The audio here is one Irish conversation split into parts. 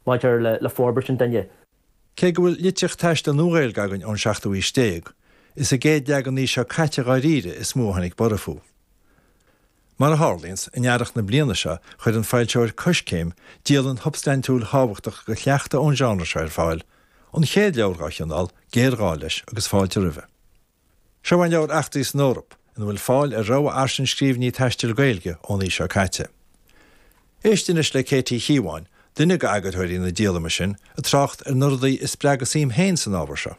maidir le forbairt an duine. Cé go bhfuil litríocht taistil Nua-Ghaeilge againn ón seachtú haois déag, is i gcéad leath den aois seo caite dháiríre is mó a tháinig borradh fúthu. Mar a tharlaíonns, in earrach na bliana seo chuir an foilsitheoir Coiscéim dialann shubstaintiúil thábhachtach de shleachta ón genre seo ar fáil, an chéad leabhar dá chineál, géarghá leis agus fáilte roimhe. Seo é an leabhar Eachtraí san Eoraip, ina bhfuil fáil ar rogha fhairsing scríbhinní taistil Gaeilge ón aois seo caite. Éist anois le Kate Uí Chíobháin, duine d'eagarthóirí na díolama sin, ag trácht ar na rudaí a spreag a suim féin san ábhar seo.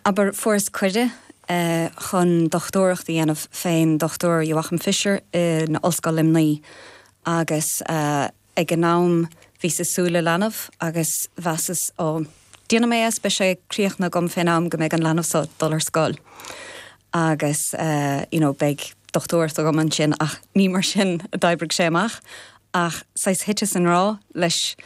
Abair, fuaireas cuireadh chun dochtúireacht a dhéanamh fén Dr Joachim Fischer in Ollscoil Luimnigh agus Ag an am bhíos ag súil le leanbh agus mheasas, ó, déanfaidh mé é is beidh sé críochnaithe agam fén am go mbeidh an leanbh so ag dul ar scoil agus you know beidh dochtúireacht agam ansin ach ní mar sin a d'oibrigh sé amach ach saghas thiteas i ngrá leis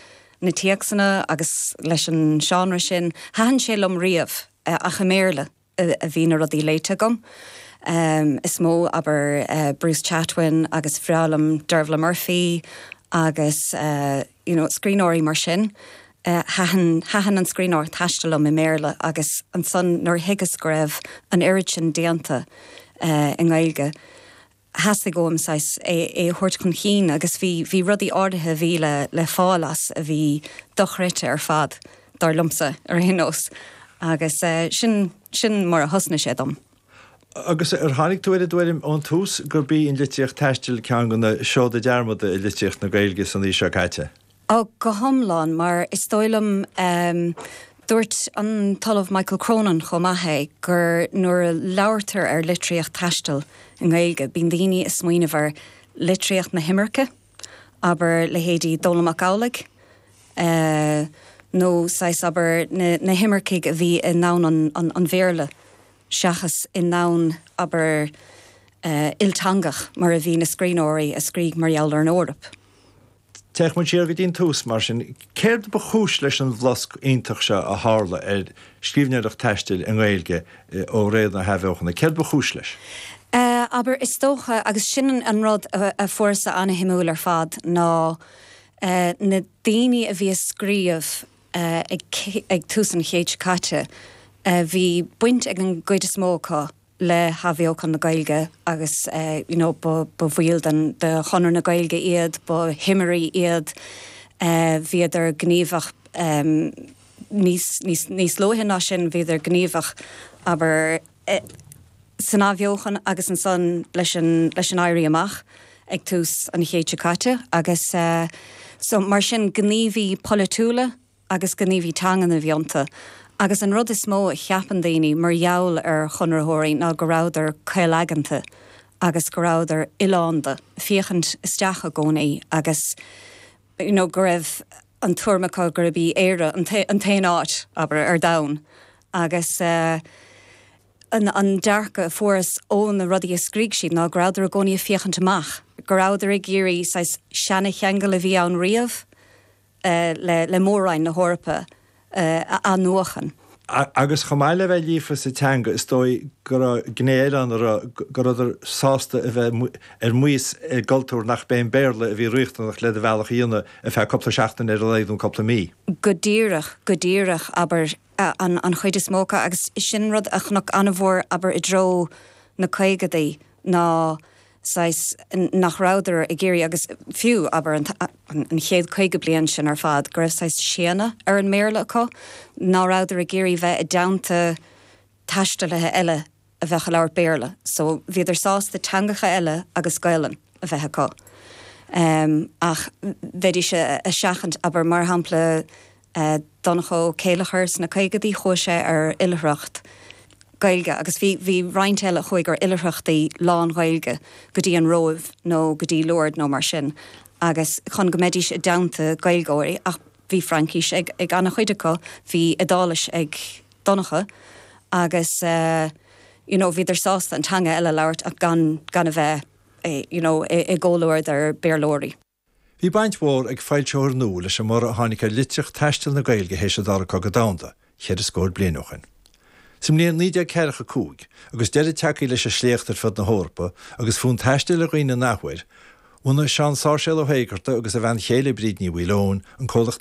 na téacsanna agus leis an seánra sin. Thaitin sé liom riamh ach i mBéarla. a bhí na rudaí léite agam is mó, abair Bruce Chatwin agus bhreá liom Dervla Murphy agus you know scríbhneoirí mar sin. Thaitin, thaitin an scríbhneoireacht taistil liom i mBéarla agus ansan nuair a thuigeas go raibh an oiread sin déanta i nGaeilge, theastaigh uaim saghas é a thabhairt chun cinn agus bhí, bhí rudaí áirithe a bhí le, le fáil as a bhí dochreidte ar fad, dar liomsa, ar aon nós. Agus sin, sin mar a thosnaigh sé dom. Agus ar tháinig tú ar an dtuairim ón tús gurb í an litríocht taistil ceann de na seoda dearmadta i litríocht na Gaeilge san aois seo caite? Ó, go hiomlán, mar is dóigh liom, dúirt an tOllamh Michael Cronin chomh maith é, gur nuair a labhartar ar litríocht taistil i nGaeilge, bíonn daoine ag smaoineamh ar litríocht na himirce, abair leithéidí Dónall Mac Amhlaigh, nó saghas, abair, na himircigh a bhí i ndomhan an Bhéarla seachas i ndomhan, abair, ilteangach mar a bhí na scríbhneoirí a scrígh mar gheall ar an Eoraip. Téadh muid siar go dtí an tús, mar sin. Céard ba chúis leis an bhflosc iontach seo a tharla ar scríbhneoireacht taistil i nGaeilge ó ré na hAthbheochana? Céard ba chúis leis? Abair, is dócha, agus sin an rud a fuaireas-sa ana-shuimiúil ar fad, ná na daoine a bhí ag scríobh ag tús an chéid seo caite, bhí baint ag an gcuid is mó acu le hathbheochan na Gaeilge agus you know ba bhaill den de Chonradh na Gaeilge iad, ba thimirí iad, bhíodar gníomhach níos níos níos luaithe ná sin, bhíodar gníomhach abair san athbheochan agus ansan leis an leis an Éirí Amach ag tús an chéid seo caite agus so mar sin gníomhaí polaitiúla, agus gníomhaí teangan a bhí iontu. Agus an rud is mó a cheapann daoine mar gheall ar Chonraitheoirí ná go rabhadar caolaigeanta agus go rabhadar oileánda, féachaint isteach i gcónaí agus you know go raibh an tuairim acu gurb í Éire an t-aon áit, abair, ar domhan. Agus eh an dearcadh a fuarthas ó na rudaí a scrígh siad ná go rabhadar i gcónaí ag féachaint amach, go rabhadar ag iarraidh saghas seana-cheangal a bhí ann riamh, le Mór-Roinn na hEorpa a athnuachan. Agus chomh maith le bheith líofa sa teanga, is dóigh go raibh gné eile ann a raibh, go rabhadar sásta a bheith ar maos i gcultúr nach b'é an Béarla a bhí riachtanach le do bhealach a dhéanamh ar feadh cúpla seachtain ar a laghad nó cúpla mí. Go díreach, go díreach, abair, an chuid is mó acu, agus sin rud a chonac an-mhór, abair, i dtreo na caogadaí ná saghas, nach rabhadar ag iarraidh, agus fiú, abair, an chéad 50 bliain sin ar fad, go raibh saghas séanadh ar an mBéarla acu, ná rabhadar ag iarraidh bheith i dteannta taistealaithe eile a bheadh ag labhairt Béarla. So, bhíodar sásta teangacha eile agus Gaelainn a bheith acu. Ach bheidís a seachaint, abair, mar shampla, Donncha Ó Céilleachair sna caogadaí, chuaigh sé ar oilithreacht Gaeilge agus bhí, bhí roinnt eile a chuaigh ar oilithreachtaí lán-Ghaeilge go dtí an Róimh nó go dtí Lourdes nó mar sin agus chun go mbeidís i dteannta Gaeilgeoirí ach bhí Fraincis ag, ag an-chuid acu, bhí Iodáilis ag Donncha agus you know bhíodar sásta an teanga eile a labhairt ach gan, gan a bheith you know i gcomhluadar Béarlóirí. Bhí baint mhór ag foilsitheoir nua leis an mborradh a tháinig ar litríocht taistil na Gaeilge théis an Dara Cogadh Domhanda, cheithre scór bliain ó shin. Sa mbliain 1945, agus deireadh tagtha leis an sléacht ar fud na hEorpa agus fonn taistil ar dhaoine an athuair, Bhunaigh Seán Sáirséal Ó hÉigeartaigh agus a bhean chéile Bríd Ní Mhaoileoin an comhlacht.